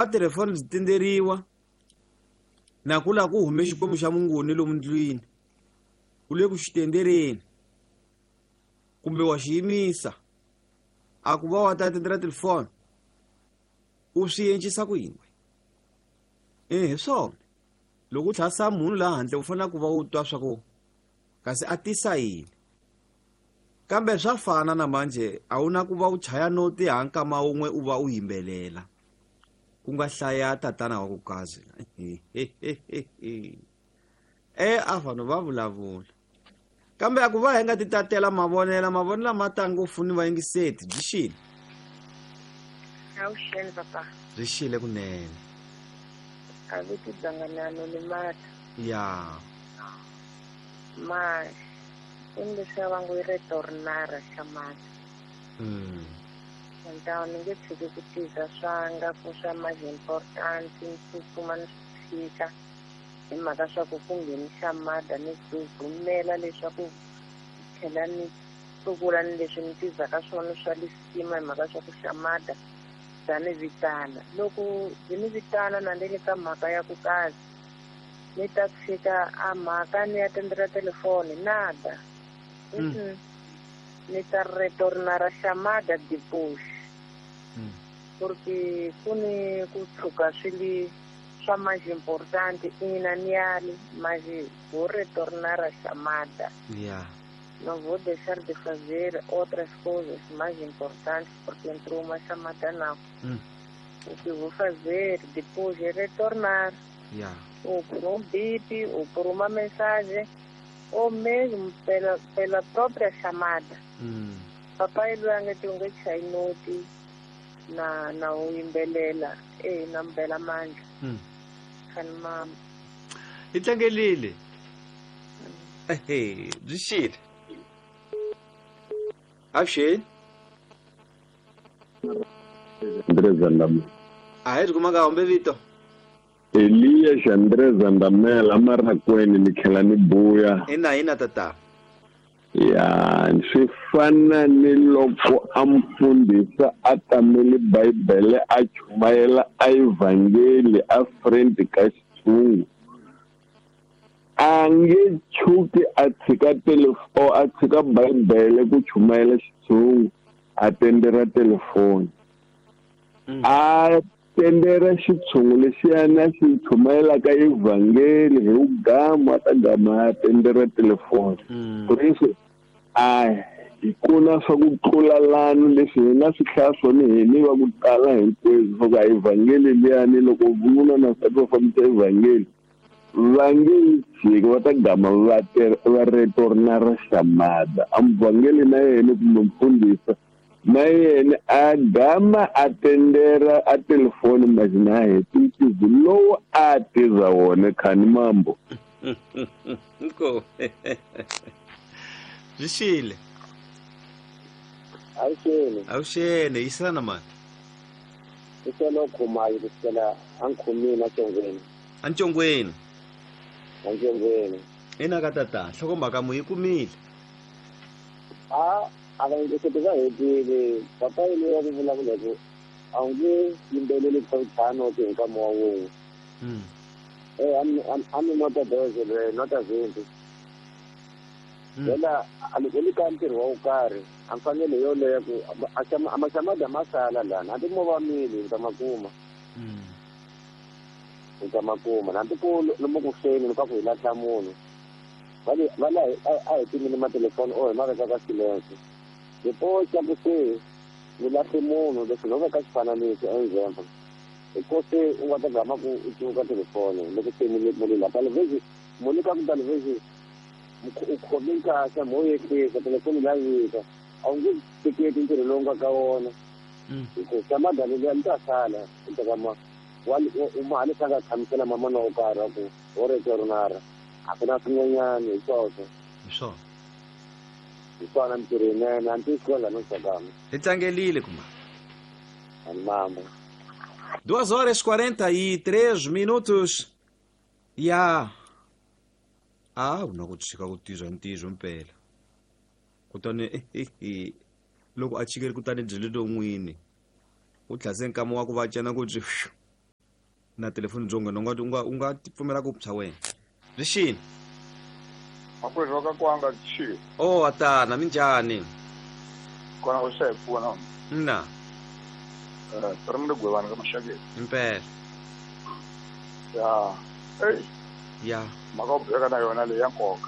Va telefoni byi tinderiwa na ku la ku hume xikwembu xa mungoni lomu ndlwini u le ku xi tendereni kumbe wa xi yimisa a ku va wa ta tendera telefoni u swi encisa ku yini e hi swona loko u tlhasa munhu laha handle u fanele ku va u twa swa ku kasi a tisa yini kambe swa fana na manje a wu na ku va u chaya noti ha nkama wun'we u va u yimbelela ku nga hlaya tatana wa ku kazi e a vanhu va vulavula kambe a ku va hi nga ti tatela mavonela mavonela ma ta ngopfu ni vayingiseti byi xile Avuxeni papa. Byi xile kunene. A viti dzanganano ni mata. Ya. Ma i leswiya va ngo i retornara xa mata. Ntawo ni nge tshiki ku tiza swanga ku swa manje important ni tsutsuma ni swi tshika hi mhaka swa ku ku ngheni xa mada ni tsutsumela leswaku tlhela ni tlukula ni leswi ni tizaka swona swa lisima hi mhaka swa ku xamada bya ni vitana loko byi ni vitana na ni le ka mhaka ya ku kazi ni ta tshika a mhaka ni ya tendela telefoni nada. Ni ta retornara xamada depois porque ku ni ku tshuka swi li swa mais importante ina ni yali mas vou retornar a chamada. Não vou deixar de fazer outras coisas mais importantes porque entrou uma chamada não. O que vou fazer depois é retornar. Ou por um bip, ou por uma mensagem, ou mesmo pela própria chamada. Papai lwange tunge chainoti na uyimbelela na mbela mandla. Khani mama. Itlangelile. Ehe, byi xile. Avuxeni. André Zandamela. A hi ri kumaka humbe vito. Elias André Zandamela amarakweni ni tlhela ni buya. Ina tata. Ya, swi fana ni loko a mfundhisa a tamele Bibele a chumayela a evhangeli a friend ka xitshungu. A nge tshuki a tshika telefoni a tshika Bibele ku chumayela xitshungu a tendera telefoni. A tendera xitshungu lexiyana xi chumayelaka evhangeli hi ugama ta gama a tendera telefoni. Por isso a hi kuna swa ku tlula lano leswi hi nga swi hlaya swona hi ni va ku tala hinkwenu swa ku a evhangeli liyani loko vununa na nsati va fambisa evhangeli va nge yi tshiki va ta gama va retornara xamada. A muvhangeli na yena kumbe mfundhisa na yena a gama a tendera a telefoni majina heti ntizi lowu a tiza wona khani mambo. Nko. Byi xile. Avuxeni. Avuxeni, yisana mani. Iselo khumayi kusukela ankhumini ancongweni. Ancongweni. Ancongweni. Ina ka tata, nhlokomhaka mu yi kumile. A a va ehleketi va hetile papa yini ya ku vulavula ku a wu nge yimbeleli tlhanu hi nkama wa wun'we. A mi nota doze le nota 20. Yena a li ka ntirho wa wo karhi a mfanelo yoleyo ku a maxamada ma sala lana hambi mo va mili u ta ma kuma. U ta ma kuma hambi ku lomu ku feni ka ku hi lahla munhu va la a hi timile matelefoni o hi ma veka ka silence depois xa ku se ni lahle munhu leswi no veka xifananiso example hi ko se u nga ta gama ku u cuka telefoni loko se muli la talevhexi muli ka ku talevhexi u khome nkasa mo yehlisa telefoni la yika a wu nge teketi ntirho lowu nga ka wona hikuva xamada leliya ni ta sala u teka ma mali swa nga tshamisela mamana wo karhi wa ku wo retornara a ku na swin'wanyana hi swoswo. Hi swona. Hi swona mintirho yinene a ni tiyisiwela no tsakama. Hi tlangelile kuma. Ani mamba. 2 horas 43 minutos. Ya. A wu na ku tshika ku tizwa ntizo mpela. Kutani loko a chikele kutani byi le n'wini. U tlhase nkama wa ku va cena ku byi. Na telefoni byo nghena u nga pfumela ku psha wena rixini. Makwerhu wa ka kwanga chi. O atana, minjhani? Kona u xa hi pfuna. Na. Ri mi le gwevani ka maxakeni. Impela. Ya, ei. Ya. Mhaka u beka na yona leyi ya nkoka.